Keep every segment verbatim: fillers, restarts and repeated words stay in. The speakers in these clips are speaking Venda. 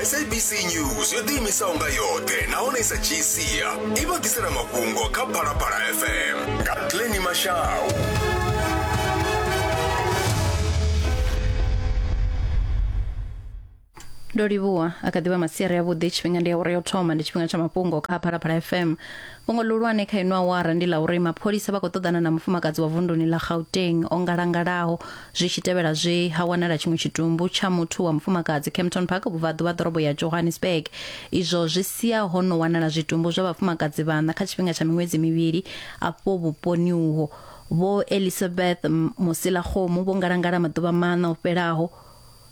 S A B C News yo ḓiimisaho nga yoṱhe nahone i sa dzhii sia i vha ḓisela mafhungo kha Phalaphala F M nga Glenny Mashau. Ndo livhuwa a kha ḓivha masiari a vhuḓi tshifhinga ndi awara yo thoma ndi tshifhinga tsha mafhungo kha Phalaphala F M. Fhungo ḽihulwane kha ino awara ndi ḽa uri mapholisa vha khou ṱoḓana na mufumakadzi wa vunduni ḽa Gauteng o ngalangalaho zwi tshi tevhela zwe ha wanala tshiṅwe tshitumbu tsha muthu wa mufumakadzi Kempton Park vhubvaḓuvha ḓorobo ya Johannesburg. Izwo zwi sia ho no wanala zwitumbu zwa vhafumakadzi vhaṋa kha tshifhinga tsha miṅwedzi mivhili afho vhuponi uho. Vho Elizabeth Mosilakgomo vho ngalangala maḓuvha maṋa o fhelaho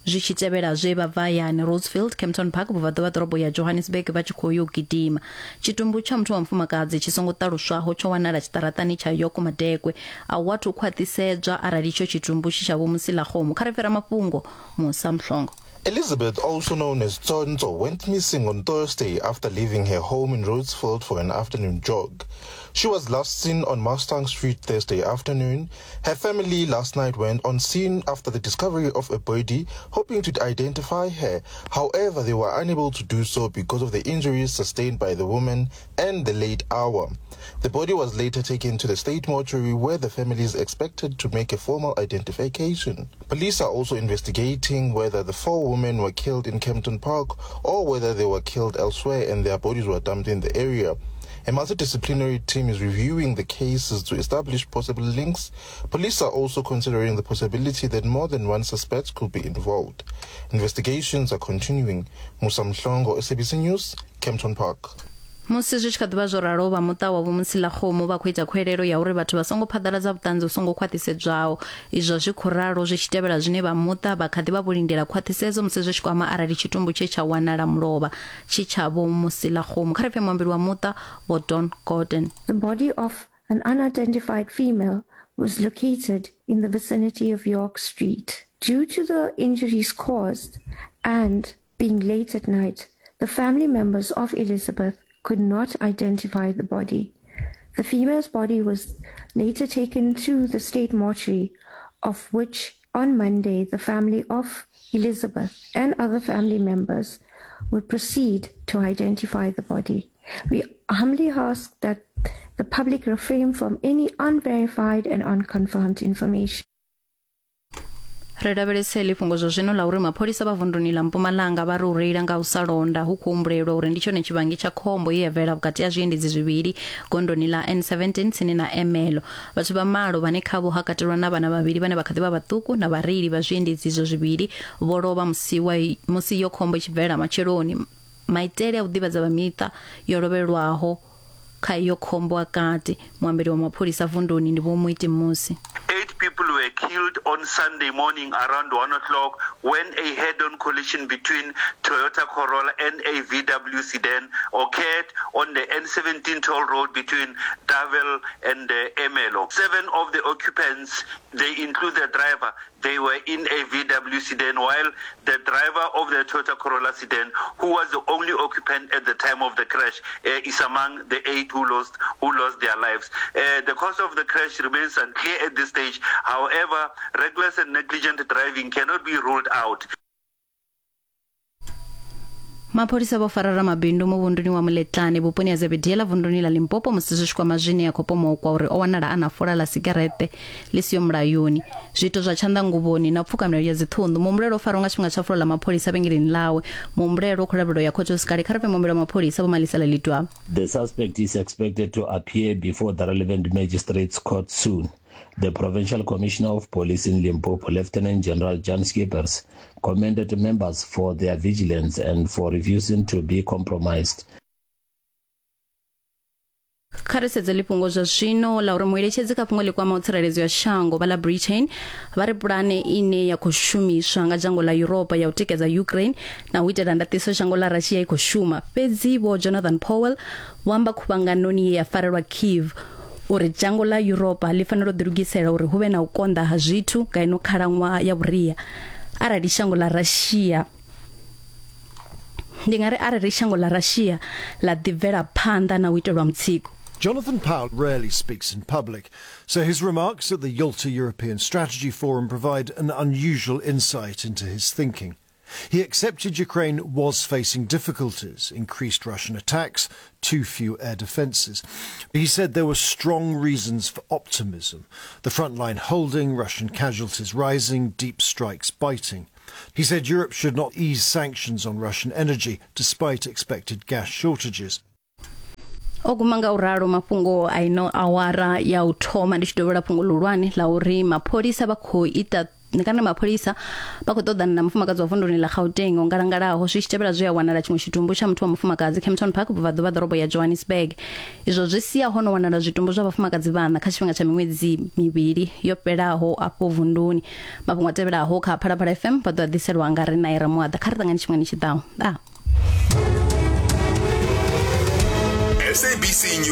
zwi tshi tevhela zwe vha bva hayani Rosefield Kempton Park vhubvaḓuvha ḓorobo ya Johannesburg vha tshi khou yo gidima. Tshitumbu tsha muthu wa mufumakadzi tshi songo ṱaluswaho tsho wanala tshiṱaraṱani tsha York Madekwe a hu athu khwaṱhisedzwa arali itsho tshitumbu tshi tsha Vho Mosilakgomo. Kha ri fhira mafhungo Musa Mhlongo. Elizabeth, also known as Tsonzo, went missing on Thursday after leaving her home in Rhodesfield for an afternoon jog. She was last seen on Mustang Street Thursday afternoon. Her family last night went on scene after the discovery of a body, hoping to identify her. However, they were unable to do so because of the injuries sustained by the woman and the late hour. The body was later taken to the state mortuary where the family is expected to make a formal identification. Police are also investigating whether the four women were killed in Kempton Park or whether they were killed elsewhere and their bodies were dumped in the area. A multidisciplinary team is reviewing the cases to establish possible links. Police are also considering the possibility that more than one suspect could be involved. Investigations are continuing. Musa Mhlongo, S A B C News, Kempton Park. Musi zwi tshi kha ḓivha zwo ralo vha muṱa wa Vho Mosilakgomo vha khou ita khuwelelo ya uri vhathu vha songo phaḓaladza vhuṱanzi vhu songo khwaṱhisedzwaho. Izwo zwi khou ralo zwi tshi tevhela zwine vha muṱa vha kha ḓi vha vho lindela khwaṱhisedzo musi zwi tshi kwama arali tshitumbu tshe tsha wanala mulovha tshi tsha Vho Mosilakgomo. Kha ri pfe muambeli wa muṱa Vho Don Gordon. The body of an unidentified female was located in the vicinity of York Street. Due to the injuries caused and being late at night, the family members of Elizabeth could not identify the body. The female's body was later taken to the state mortuary, of which on Monday the family of Elizabeth and other family members would proceed to identify the body. We humbly ask that the public refrain from any unverified and unconfirmed information. Ri lavhelese ḽi fhungo zwa zwino ḽa uri mapholisa vha vunduni ḽa Mpumalanga vha ri u reila nga u sa londa hu khou humbulelwa uri ndi tshone tshivhangi tsha khombo ye ya bvelela vhukati ha zwiendedzi zwivhili gondoni ḽa N seventeen tsini na Emelo. Vhathu vha malo vhane khavho ha katelwa na vhana vhavhili vhane vha kha ḓi vha vhaṱuku na vhareili vha zwiendedzi izwo zwivhili vho lovha musi wa musi yo khombo i tshi bvelela matsheloni. Maitele a u ḓivhadza vha miṱa yo lovhelwaho kha iyo khombo a kati. Muambeli wa mapholisa vunduni ndi Vho Muiti Musi. Eight people were killed on Sunday morning around one o'clock when a head-on collision between Toyota Corolla and a V W sedan occurred on the N seventeen toll road between Davel and uh, Emelo. Seven of the occupants, they include the driver, they were in a V W sedan, while the driver of the Toyota Corolla sedan, who was the only occupant at the time of the crash, uh, is among the eight who lost who lost their lives. Uh, the cause of the crash remains unclear at this stage. However, reckless and negligent driving cannot be ruled out. Mapholisa vho fara ramabindu muvhunduni wa Muletlane vhuponi ha Zebediela vunduni ḽa Limpopo musi zwi tshi kwama zwine ya khou pomokwa uri o wanala a na fola ḽa sigareṱe ḽi siho mulayoni. Zwiito zwa tshanḓanguvhoni na u pfuka milayo ya dziṱhunḓu. Muhumbulelwa o farwa nga tshifhinga tsha fulo ḽa mapholisa vhengeleni ḽawe. Muhumbulelwa o khou lavhelelwa ya khothe sikale. Kha ri pfe muambeli wa mapholisa Vho Malisela Litwa. The suspect is expected to appear before the relevant magistrates court soon. The Provincial Commissioner of Police in Limpopo, Lieutenant General Jan Schippers, commended members for their vigilance and for refusing to be compromised. Kha ri sedze ḽifhungo zwa zwino ḽa uri mueletshedzi kha fhungo ḽi kwamaho tsireledzo ya shango vha ḽa Britain vha ri pulane ine ya khou shumiswa nga dzhango ḽa Europa ya u tikedza Ukraine na u itela ndaṱiso shango ḽa Russia i khou shuma. Fhedzi Vho Jonathan Powell vho amba khuvhanganoni ye ya farelwa Kyiv uri dzhango ḽa Europa ḽi fanela u ḓilugisela uri hu vhe na u konḓa ha zwithu nga ino khalaṅwaha ya vhuria arali shango ḽa Russia ndi nga ri arali shango ḽa Russia ḽa ḓi bvela phanḓa na u itelwa mutsiko. Jonathan Powell rarely speaks in public, so his remarks at the Yalta European Strategy Forum provide an unusual insight into his thinking. He accepted Ukraine was facing difficulties, increased Russian attacks, too few air defences. He said there were strong reasons for optimism. The front line holding, Russian casualties rising, deep strikes biting. He said Europe should not ease sanctions on Russian energy, despite expected gas shortages. O guma nga u ralo mafhungo a ino awara ya u thoma. Ndi tshi dovhela fhungo ḽihulwane ḽa uri mapholisa vha khou ita kana mapholisa vha khou ṱoḓana na mufumakadzi wa vunduni ḽa Gauteng o ngalangalaho zwi tshi tevhela zwe a wanala tshiṅwe tshitumbu tsha muthu wa mufumakadzi Kempton Park vhubvaḓuvha ḓorobo ya Johannesburg. Izwo zwi sia ho no wanala zwitumbu zwa vhafumakadzi vhaṋa kha tshifhinga tsha miṅwedzi mivhili yo fhelaho afho vunduni. Mafhungo a tevhelaho kha Phalaphala F M vha ḓo a ḓiselwa nga ri Naira Muaḓa. Kha ri ṱangane tshifhingani tshi ḓaho. S A B C News.